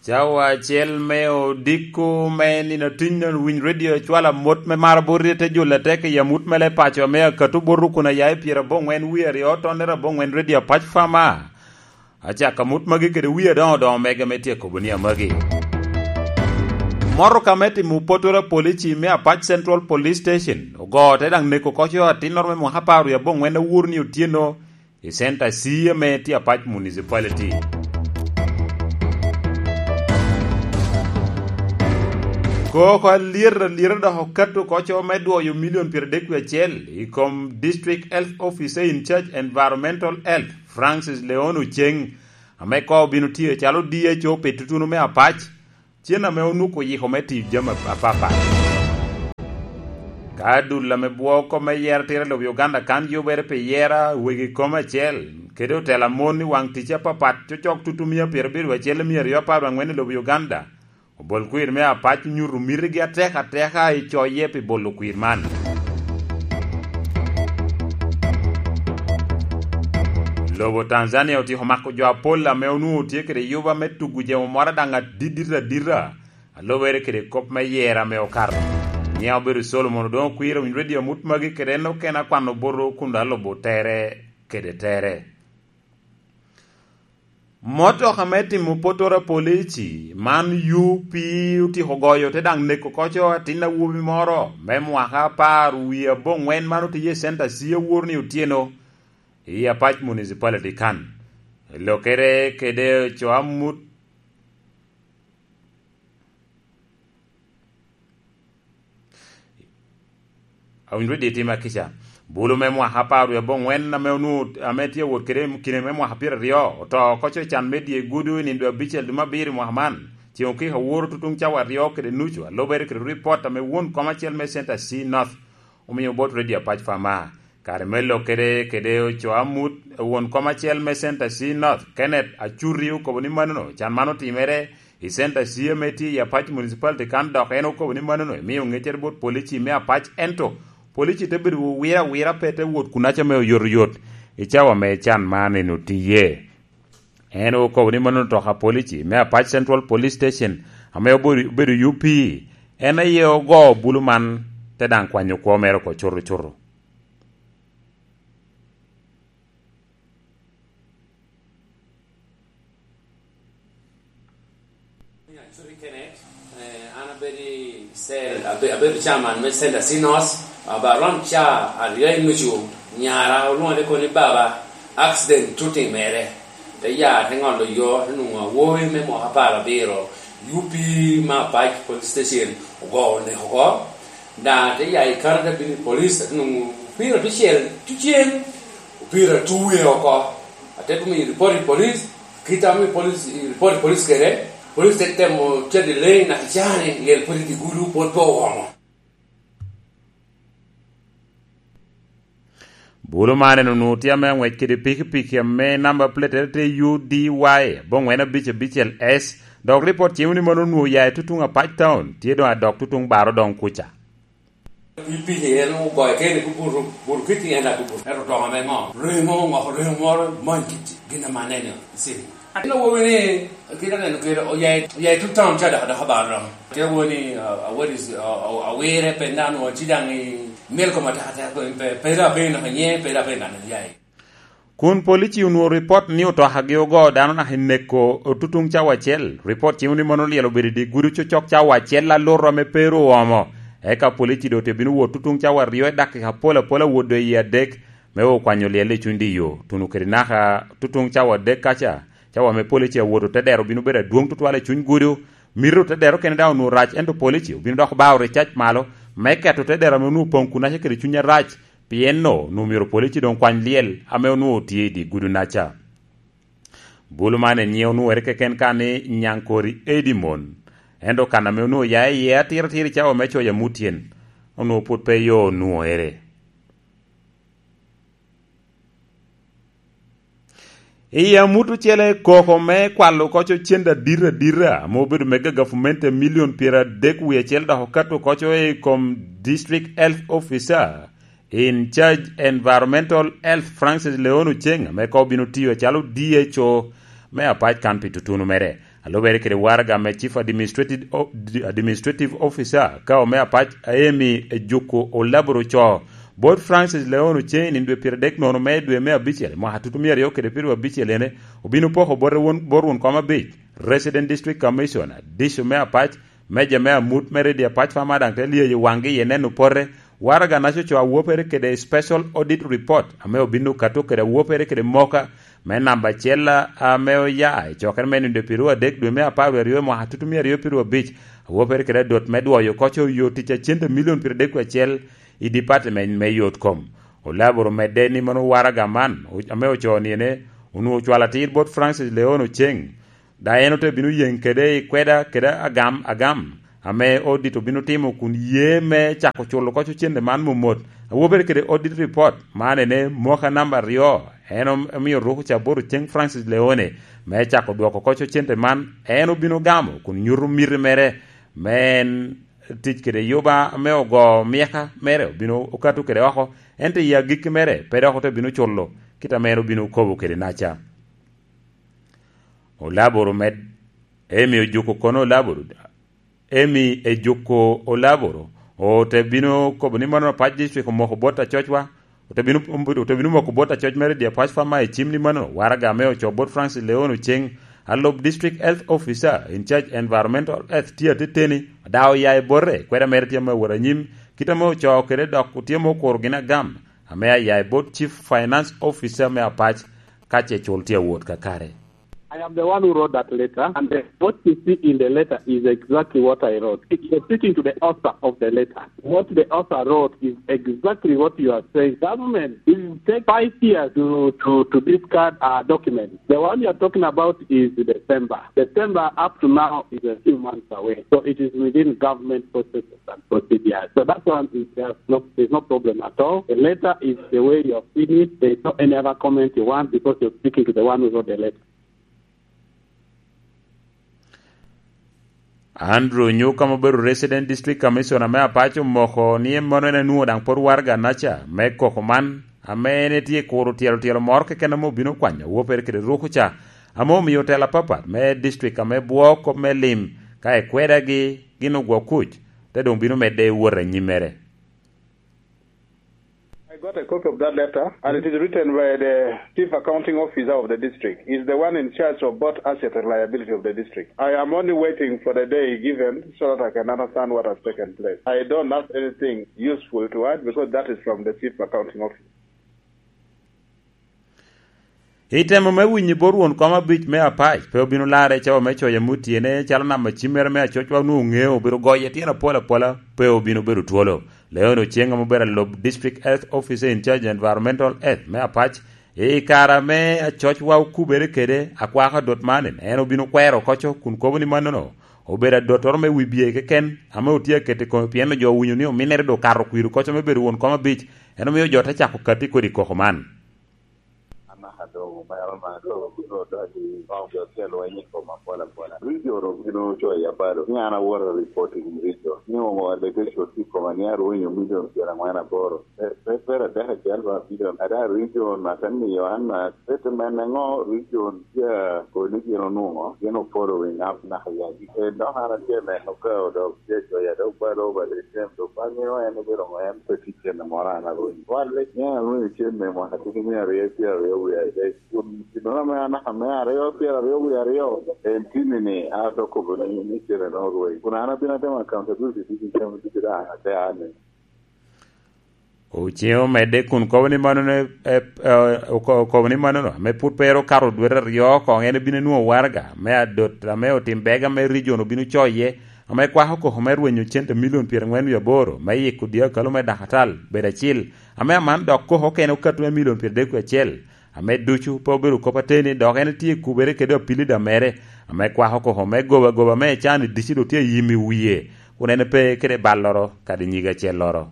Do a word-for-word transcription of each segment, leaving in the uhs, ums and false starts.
Cawa acel me odiko me nino tuny, winy redio cwalo amot me maro bot te jule tek i amut me le paco ame akato bot kun aya i pyerabongwen wie aryo tonnere abongwen redio apac fama. Acako amut magi kede wie adoŋo doŋo mege me tye kobo ni amagi. Motoka me timo potoro a polici me Apac Central Police Station ogo te daŋ neko koco atinnoro me mwaka apar wie abongwen awur ni otyeno i center C ame tye Apac Municipality. Koko alyet alyet dok okato koco me dwoyo milion pyeradek wie acel i kom District Health Officer in Charge Environmental Health, Francis Leon Oceng, ame koŋ obino tye calo D H O pi tutunu me Apac, cen ame onwoko oyiko me tiyo jami apapat. Ka dul ame bwoko me yero tira i lobo Uganda kan yubere pi yera wegi kom acel, kede otela mon i waŋ tic apapat, cocok tutu mia pyerabiro acel i mia aryo apar angwen i lobo Uganda, obol kwir me Apac onyuto mitigi atek ateka i coye pi bolo kwir man. Lobo Tanzania otyeko mako jo apol ame onwoŋo tye kede yuba me tugo jemo moro daŋ adidit adita, alubere kede kop me yera ame okato. Nyiŋe obedo Solomon Odongo Kwir, owiny redio amut magi kede en okene akwano boto kun dok alubo tere kede tere. Motoka me timo potoro a polici man U P otyeko goyo te daŋ neko koco atin awobi moro me mwaka apar wie abongwen man otiye i center C awor ni otyeno i Apac Municipality kan. Lokere kede co amut Awinyo dye tim akica. Bulu me mwaka apar wie abongwen ame onwoŋo, ame tye awot kede kine me mwaka pyeraryo, oto oko co i can me dye gudu i nindo abicel dwe me abiro i mwaka man. Ceŋ okiko aworo tutuŋ cawa aryo kede nucu, alubere kede ripot ame won kom acel me Center C North omio bot Radio Apac Fama. Kare me lok kede, kede oco amut, won kom acel me Center C North, Kenneth Acuti, okobo ni manono can man otimere i Center C ame tye i Apac Municipality kan, dok en okobo ni manono emio ŋeccere bot polici me Apac, ento polici te bedo wira wira, pe te wot kunaca me oyotoyot i cawa me can man en otiye. En okobo ni manono otoka polici me Apac Central Police Station ame obedo, obedo U P, en aye ogo bulu man te daŋ kwanyo kwo mere oko cuto cuto. An abedo i cell, abe-, abedo chairman me Center C North, aba around ca aryo i nucu, nyara olwoŋa ni kono ni, "Baba, accident tye otimere." Te ya, te ŋolo yo, te nwoŋo awobi me mwaka apar abiro, U P me Apac Police Station, ogo oneko oko. Da, te ya i Canada, bino i police, te nwoŋo opira tucel, tucel, opira tuwe oko. Ate tumo i report i police, kit ame police, i report i police kede, police te temo cadi lei naka icani, lyel pwod i dye gudu, pwod pe owomo. Bulu man en onwoŋo tye ame aŋwec kede pikipiki ame namba plate tye U D Y abongwen abic abicel S, dok ripot cimo ni mano onwoŋo oya i tutuŋ Apac Town, tye doŋ adok tutuŋ Baro doŋ kuca. I piny en ogoyo kene ki buto, buto kiti en atu buto. Ento doŋ ame ŋo? Reŋo, ŋoko reŋo moro, mony kiti. Gin ame aneno i city. Atin awobi ni, kit aneno kede, oya i, oya i two town ca dok, dok abaro doŋ. Te awobi ni, uh, uh, what is, uh, uh, awire pe nano, ci daŋ i mil kom ataka ataka, pe, pe da pe naka nye, pe da pe nano, ya i. Kun polici onwoŋo ripot ni otokagi ogo dano naka i neko otutuŋ cawa acel. Ripot cimo ni mano lyel obedo i dye gudo cocok cawa acel aluto ame pe ru oomo. Eka polici doŋ te bino wot tutuŋ cawa aryo i dakika apol apol awot doŋ i adek me okwanyo lyel i cuny dye yo, tuno kede naka tutuŋ cawa adek kaca. Cawa ame polici awoto te dero obino bedo adwoŋ tutwal i cuny gudo. Mito te dero kene daŋ onwoŋo rac, ento polici obino dok bao ricac malo me keto te dero ame onwoŋo poŋ kunaca kede cuny arac. Pien no, onwoŋo myero polici doŋ kwany lyel ame onwoŋo tye i dye gudo-naca. Bulu man en nyiŋe onwoŋere keken ka ni Nyankori Edimon. Ento kan ame onwoŋo oya iye atiratir i cawa me coc amutyen, onwoŋo pwod pe yo onwoŋere. I amut ocele, koko me kwalo koco cente adit adita ame obedo mega gavumenti a milion pyeradek wie acel dok okato koco i kom District Health Officer in Charge Environmental Health, Francis Leon Oceng, ame koŋ obino tiyo acalo D H O me Apac kan pi tutunu mere. A lubere kede waraga me Chief Administrative, Administrative Officer ka ome apac, Amy Ejuku Olaboro co, bot Francis Leon Oceŋ i dwe pyeradek nono me dwe me abicel mwaka tutu mia aryo kede pyeraryo abicel ene, obino poko bote won, bot won kom abic, Resident District Commissioner, Dico me apac, Meja me amut me Redio Apac Fama daŋ te lyeyo waŋgi i neno pote. Waraga naco co awopere kede Special Audit Report ame obino kato kede awopere kede moka me namba acel ame oya i cokere me nindo pyeraryo adek dwe me apar wie aryo mwaka tutu mia aryo pyeraryo abic, awopere kede adot me dwoyo koco yo tic a cente milion pyeradek wie acel i department me yot kom. Olaboro medde ni mano waraga man ame ocoo ni ene onwoŋo cwalo atir bot Francis Leon Oceŋ, da en ote bino yeŋ kede i kweda kede agam agam ame odit obino timo kun ye me cako culo koco cente man momot. Awobere kede audit report man ene moka namba aryo, en om-, omio ruko ca bot Oceŋ Francis Leone me cako dwoko koco cente man. En obino gamo kun nyuto miti mere me en tic kede yuba me ogo myeka mere obino okato kede oko, ento i agikki mere pe dok ote bino culo kit ame en obino kobo kede naca. Olaboro med, Emi ojuko kono Olaboro, Emi ejuko Olaboro, ote bino kobo ni mano apac district omoko bot acocwa, ote bino, ote bino moko bot acoc mere di apac fama i cim ni mano, waraga ame oco bot Francis Leon Oceŋ, alub District Health Officer in charge Environmental Health tye ateteni, ada oya i bote, kweda mere tye ame owot anyim, kit ame oco kede dok otye ame okuro gin agam, ame aya i bot Chief Finance Officer me apac, ka ce cul tye awot kakare. I am the one who wrote that letter, and the, what you see in the letter is exactly what I wrote. If you're speaking to the author of the letter, what the author wrote is exactly what you are saying. Government will take five years to, to, to discard our document. The one you are talking about is December. December up to now is a few months away. So it is within government processes and procedures. So that one is just no, there's no problem at all. The letter is the way you have seen it. There's no any other comment you want because you're speaking to the one who wrote the letter. Andrew Nyuka ma obedo Resident District Commissioner me Apaco omoko ni en mano en enwoŋo daŋ pwod waraga naca me koko man, ame en etye kuro tyelo tyelo moro keken ame obino kwanyo awope kede ruko ca, ame omio otelo apapat me district ame bwo kop me lim ka ekwedagi gin ogwo kuc, te doŋ bino medde wot anyimmere. I got a copy of that letter, and it is written by the Chief Accounting Officer of the district. He's the one in charge of both asset and liability of the district. I am only waiting for the day given so that I can understand what has taken place. I don't have anything useful to add because that is from the Chief Accounting Officer. I temo me winyo bot won kom abic me apac, pe obino larre cawa me coyo amut tyene, calo namba cimmere me acocwa onwoŋo ŋeo obedo goye tyen apol apola, pe obino bedo twolo. Leon Oceŋ ame obedo alub District Health Officer in charge Environmental Health me apac, i kare ame acocwa okubere kede akwako adot man, en obino kwero koco kun kobo ni mannono obedo adottoro me wi bye keken ame otye aketo i kome, pien jo owinyo ni ominnere doŋ okato kwir koco me bedo won kom abic, en omio jo te cako katti kodi koko man. An naka doŋ omero na doŋ odok i kong jo tye lweny i koma pol apola. Region obino coyo abalo ni an awoto reporting region ni ongo allegation tye i koma ni arwenyo milion pyerangwen aboro. Pe, pe, pe adek acel ba milion. Ada region ate miyo an na statement ŋo region tye a koni gin onwoŋo gin o following up naka yagi. En dok an atye neno ka odok tye coyo adok balo ba region do pa ŋeo en obedo ŋo en pe tye cene moro an arwenyo. Wan lec ni an arwenyo cene mwaka tye ki mia aryo pyeraryo wiye adek. Kun gin ame anaka me aryo, pyeraryo wie aryo, en tini ni, a, dok kobo ni, ni cene no rwei. Kun an abino atemo accountability, diki cem, diki da, ate ane. Oceŋ omedde kun kobo ni mano ne, e, e, oko-, okobo ni mano no, ame put pe ero kato dwete aryo koŋ en ebino enwoŋo waraga, me adot, ame otim bega me region obino coye, ame kwako koko me rwenyo cente milion pyerangwen wie aboro, me yiko dyekalo me dakatal, bedo acil, ame aman dok koko okene okato me milion pyeradek wie acel. Ame ducu pe obedo kop ateni, dok en tye i kubere kede apilida mere, ame kwako koko me goba goba me ecan i dici dok tye ayim i wie, kun en pe kede balloro kadi nyige acelloro.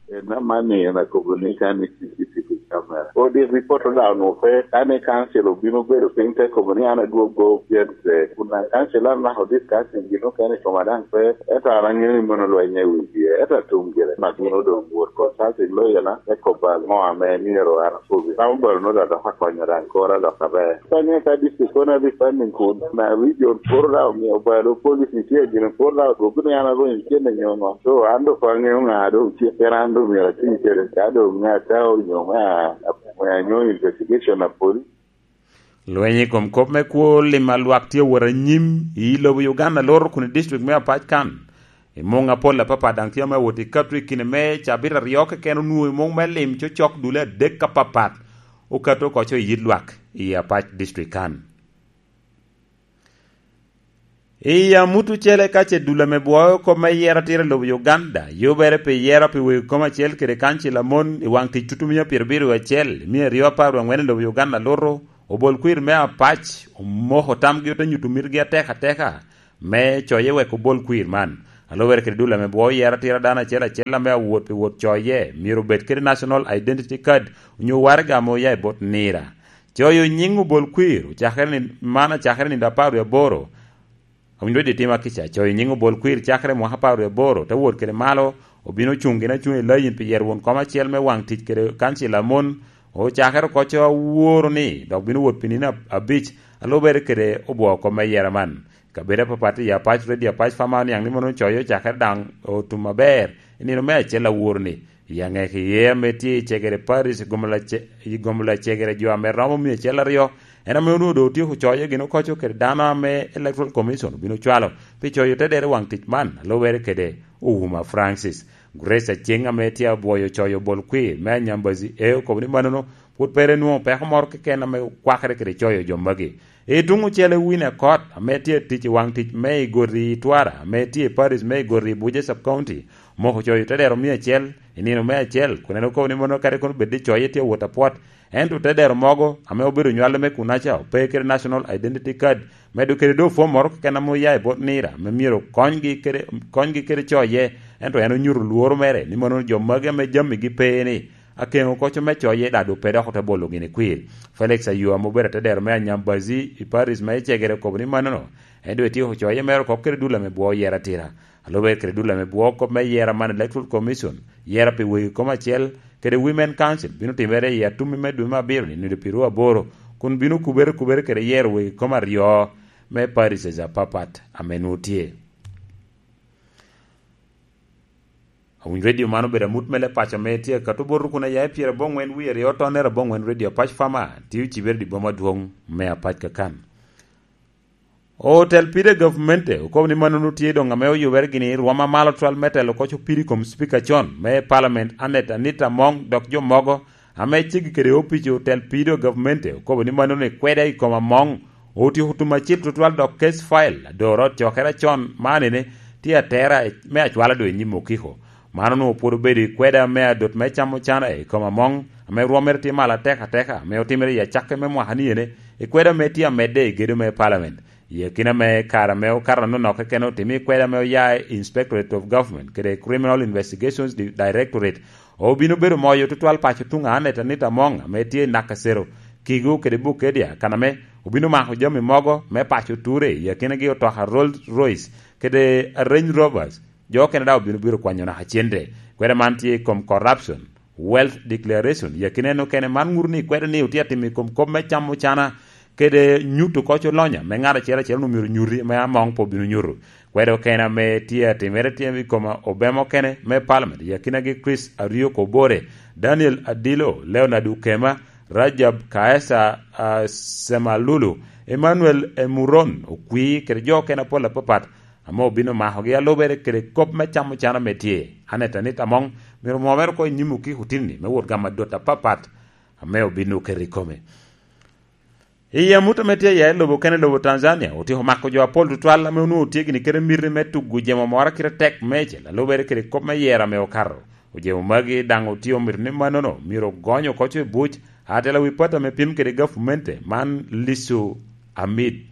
En amanni en akobo ni ka ni C C T V Amen. Odi ripot daŋ onwoŋo pe, ka ni kancil obino bedo piny te kobo ni an adwoggo pien pe. Kun daŋ kancil an naka odit kancil gin okene i koma daŋ pe, ento an aŋeo ni mono lweny i wi wie, ento atum gire. Mak mono doŋ wot consulting lawyer-na, me kobo aŋo ame myero an akobi. Ramo balo nwoŋo adok akonyo daŋ kora dok aber. Ka ŋe ka district kono refunding kun, na region pwod daŋ omio balo policy tye gin pwod daŋ odwogo ni an arwenyo cen i nyo ŋo. So an doŋ pe aŋeo ŋa doŋ cik, pien an doŋ myero ati kede. Ka doŋ ŋa ta onyo ŋa, ŋa nyo investigation a police. Lweny i kom kop me kwo lim a lwak tye awot anyim i lobo Uganda loro kun i district me Apac kan. I muŋ apol apapat daŋ tye ame awot i kato i kine me cabit aryo keken onwoŋo i muŋ me lim cocok dule adek apapat okato oko i yit lwak i Apac district kan. I amut ocele ka ce dul ame bwoyo kop me yero atira i lobo Uganda, yubere pi yero pi wegi kom acel kede kancil amon i waŋ tic tutumia pyerabiro acel, mia aryo apar wangwen i lobo Uganda luto, obol kwir me Apac omoko tamgi ote nyuto mitgi atek ateka me coye wek obol kwir man. Alubere kede dul ame bwoyo yero atira dano acel acel ame awot pi wot coye, myero obed kede National Identity Card onyo waraga ame oya i bot nira. Coyo nyiŋ obol kwir ocakere ni, man acakere nindo apar wie aboro. Awinyo di tima kica, coyo nyiŋ obol kwir cakere mwaka apar wie aboro, te wot kede malo, obino cuŋ gin acuŋ i layin pi yero won kom acel me waŋ tic kede kancil amon, ocakere oko co aworo ni, dok bino wot pi nino ab-, abic, alubere kede obwoo kom me yera man. Kabedo apapat i Apac, Redio Apac, Fama oniaŋ ni mono coyo ocakere daŋ otum aber, i nino me acel aworo ni, i aŋek iye ame tye i Cegere Parish, i gomo lace-, i gomo lacegere jo ame romo mia acel aryo, en ame onwoŋo doŋ otyeko coyo gin okoco kede dano ame Electoral Commission obino cwalo pi coyo te dero waŋ tic man, alubere kede Ouma Francis. Grace Aceng ame tye abwoyo coyo bol kwir me Anyambazi e okobo ni manono pwod pe ri nwoŋo peko moro keken ame kwakere kede coyo jo magi. I tuŋ ocele Winnie Akot, ame tye tic i waŋ tic me Igoti i Twara, ame tye i Paris me Igoti i Buja Sub County, omoko coyo te dero mia acel i nino me acel, kun en okobo ni mono kadi kono bed ni coye tye awot apwot, ento te dero mogo ame obedo nywale me kunaca ope kede National Identity Card, medo kede doŋ fom moro keken ame oya i bot nira, ame myero konygi kede, konygi kede coye, ento en onyuto lworo mere ni mono jo magi ame jamigi pe ni, akeŋo koco me coye daŋ doŋ pe dok ote bolo gini kwir. Felix Ayua ame obedo atedero me Anyambazi i Paris me Icegere okobo ni manono, en doŋ etyeko coye mere oko kede dul ame bwo yera atira. Alube kede dul ame bwo kop me yera man Electoral Commission, yera pi wegi kom acel, kede Women Council bino timere i atummi me dwe me abiro ni nino pirwo aboro, kun bino kubere kubere kede yero wegi kom aryo me parishes apapat ame nwoŋo tye. Awinyo redio man obedo amut me leb paco ame tye akato bot rukuna ya i pyerabongwen wie aryo tonere abongwen redio Apac Fama, tye ocibere di boma adwoŋ me Apac kakan. Otel pide gavmente okobo ni manono tye doŋ ame oyubere gini rwom amalo twal me telo koc opiri kom Cipika con me Palament Annet Anita Among dok jo mogo ame ceggi kede opic otel pido gavmente okobo ni manono ikweda i kom Among otyeko tum acil tutwal dok case file adoro cokere acon man ene tye atera me acwala do i nyim okiko. Man onwoŋo pwod obedo i kweda me adot me camo cana i kom Among ame rwomere tye malo atek ateka ame otimere i acakke me mwaka ni ene i kweda me tye amedde i gedo me Parliament. I akina me kare ame okato anonoke kene otimo i kweda ame oya i Inspectorate of Government kede Criminal Investigations Di-, Directorate obino bedo moyo tutwal paco tuŋ Annet Anita Among ame tye i Nakasero, Kigo kede Bukedea, kan ame obino mako jami mogo me paco ture, i akinagi otoka Rolls Royce kede Range Rovers. Jo okene daŋ obino biro kwanyo naka cente. Kweda man tye i kom corruption, wealth declaration, i akina en okene. Man ŋuto ni kweda ni otye atimo i kom kop me camo cana kede nyuto koc olonya me ŋat acel acel onwoŋo myero nyuti, me Among pe obino nyuto. Kweda okene ame tye atimere tye i kom obema okene me Parliament, i akinagi Chris Ariok Obore, Daniel Adilo, Leonard Ukema, Rajab Kaesa, ah, Semalulu, Emmanuel Emuron Okwi, kede jo okene apol apapat, ame obino makogi alubere kede kop me camo cana ame tye. Aneta ni Among myero omwomere oko i nyim okiko otinni me wot gamo adot apapat ame obino keto i kome. I amut ame tye iye lobo kene lobo Tanzania, otyeko mako jo apol tutwal ame onwoŋo tye gini kede miti me tugo jemo moro kite tek mecel, alubere kede kop me yero ame okato. Ojemo magi daŋ otye omito ni mannono myero ogony oko i buc, atela wi pat ame pim kede gavumente man Lisu Amid,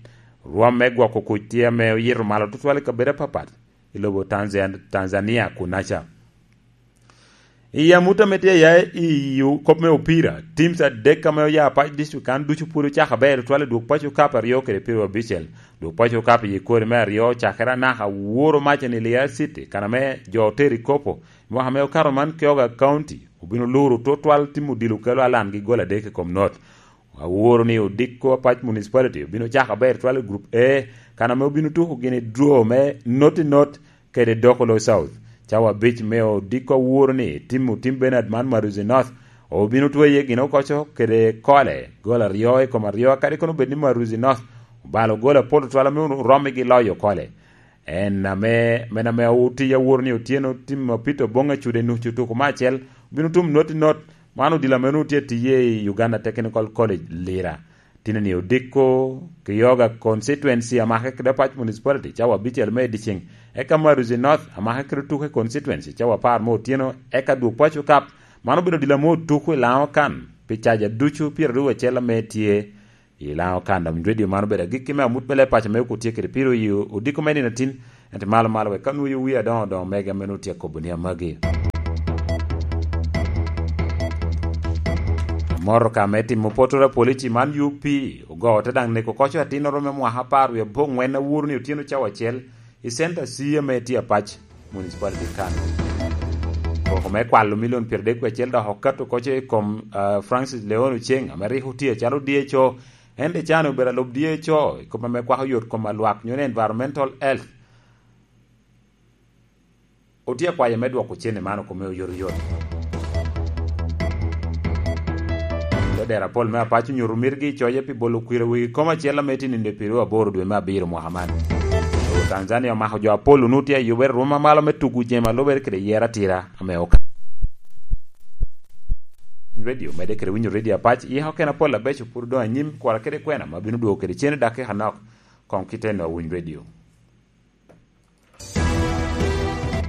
rwom me gwoko kuc tye ame oyito malo tutwal i kabedo apapat i lobo Tanzan-, Tanzania kunaca. I amut ame tye aya i kop me opira, teams adek ame oya pac district kan ducu pwod ocako aber tutwal i dwog paco kap aryo kede pyeraryo abicel. Dwog paco kap i kori me aryo ocakere anaka woro mac ni Lira City, kan ame jo otero i kopo. I mwaka ame okato man, Kyoga County obino luro tutwal timo dilo kelo alan gi gol adek i kom not. Aworo ni odiko Apac Municipality obino cako aber twal i Group A, kan ame obino tuko gini draw me not i not kede Dokolo South. Cawa abic me odiko aworo ni timo Tim Bernard man Maruzi North obino tweye gin okoco kede Kole, gol aryo i kom aryo, kadi kono bed ni Maruzi North obalo gol apol tutwal ame oromo gi loyo Kole. En ame, men ame oti aworo ni otyeno tim apito boŋ acude nucu tuko me acel, obino tum not i not. Man odilo ame onwoŋo tye tiye i Uganda Technical College, Lira. Tino ni odiko Kyoga constituency amake kede Apac Municipality cawa abicel me ediceŋ, eka Maruzi North amake kede Tuke constituency cawa apar me otyeno, eka dwog paco kap. Man obedo odilo ame otuko i Laŋo kan pi caja ducu pyeraryo acel ame tye i Laŋo kan. Dok redio man obedo agikki me amut me leb paco me okut tye kede piro i odiko me nino atin, ento malo malo wek ka nwoyo wi adoŋo doŋo mege ame nwoŋo tye akobo ni amagi. Motoka me timo potoro apolici man U P ogo te daŋ neko koco atinnoro me mwaka apar wie abongwen aworo ni otyeno cawa acel i center C ame tye Apac Municipality kan. Koko me kwalo milion pyeradek wie acel dok okato koco i kom, ah, Francis Leon Oceng ame rik otye acalo D H O. En de can obedo alub D H O i kop ame kwako yot kom alwak nyo ni environmental health. Otye akwayo me dwoko cene man oko me oyotoyot. Lodero apol me Apac onyuto mitgi i coye pi bolo kwir i wegi kom acel ame tye nino pyeraryo aboro dwe me abiro mwaka man. Lobo Tanzania omako jo apol onut tye ayubere rwom amalo me tugo jemi alubere kede yero atira ame oka. Radio medde kede winyo radio Apac, yiko kena pol abeco pwod odoŋ anyim, kwara kede kwena ma bino dwogo kede cene dakika nok, koŋ kite no winy radio.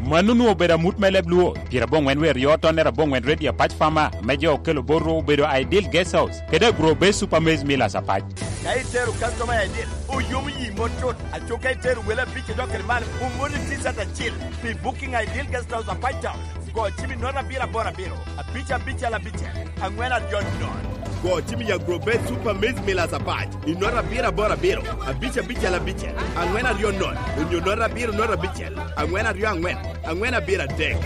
Mano onwoŋo obedo amut me leb Luo, pyerabongwen wer yo tonnere abongwen Radio Apac Farmer, ame jo okelo bot rwok obedo Ideal Guest House, kede Agro Base Super Maize Millers Apac. Ka itero customer Ideal, oyomo yi mot cut, aco ka itero wele abic idok kede malo, omoni T-shirt acil. Pi booking Ideal Guest House Apac Town, go cim i nota abiro aboro abiro, abic abicel abicel, angwen aryo nono. Go cim i Agro Base Super Maize Millers Apac i nota abiro aboro abiro, abic abicel abicel, angwen aryo nono, onyo nota abiro nota abicel, angwen aryo angwen, angwen abiro adek.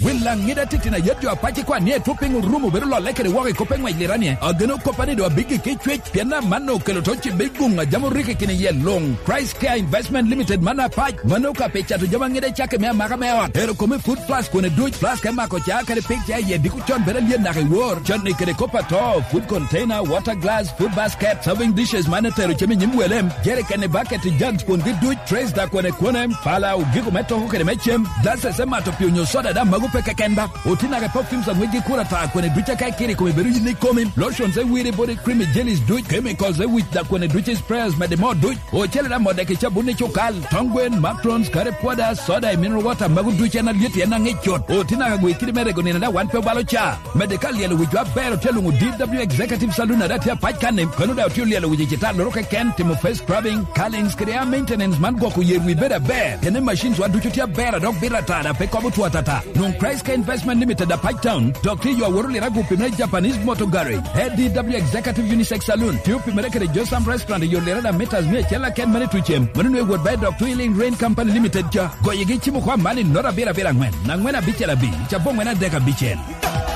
Wil Laŋida titino ayet jo Apac ikwan ni etwo piny orumo bedo lolle kede woko i kop me ŋwec Lira ni, ageno koppa ni doŋ abiggi ki cwec, pien amanno okelo to cibbe i guŋ a jami orikki kine iye luŋ. Christ Care Investment Limited man Apac, mano ka pi cato jami aŋida cakke me amaka me ot. Ero kome food flask kone duc, flask me mako ca kede pig ca iye diko con bedo alyet naka i wor, canni kede kop ato, food container, water glass, food basket, serving dishes man etero cem i nyim wele, jerikeni, baketi, jugs kwongi duc, trays da kwene kwene, pala, ogiko me toko kede me cem, glasses me mato pii onyo soda da mago pe keken ba. Oti naka perfumes aŋwec gi kura ta kwene duc aka ikiri kome bedo yin ikomi, lotions e wiri body cream i jellies duc, chemicals e wic da kwene duc i sprayers mede mo duc. Ocele da modde ki cabun i cukal, tong gwen, macarons, curry powder, soda i mineral water mago duc en alyet en aŋic cut. Oti naka gwe kidi me rego nino da wan pe obalo ca. Medde ka lyelo wicwa aber otye luŋo D W Executive Saloon a daŋ tye Apac kan-ni, kono daŋ otye olyelo wic i cita loro keken, timo face scrubbing, curlings kede hair maintenance man gwoko yer wi bedo aber. Kene machines wa ducu tye aber a dok bito ata daŋ pe kobo two atata. Nwoŋ Christ Care Investment Limited Apac Town, dok tye yo aworo lira gupi me Japanese Motor Garage, A D W Executive Unisex Saloon, tye opimere kede Josam Restaurant i yo lira daŋ meters mia acel aken mane tucem. Mano nwe wot ba i dok Twilling Rain Company Limited ca. Goyegi cimo kwa man i nota abiro abiro angwen, angwen abicel abic, cabo angwen adek abicel.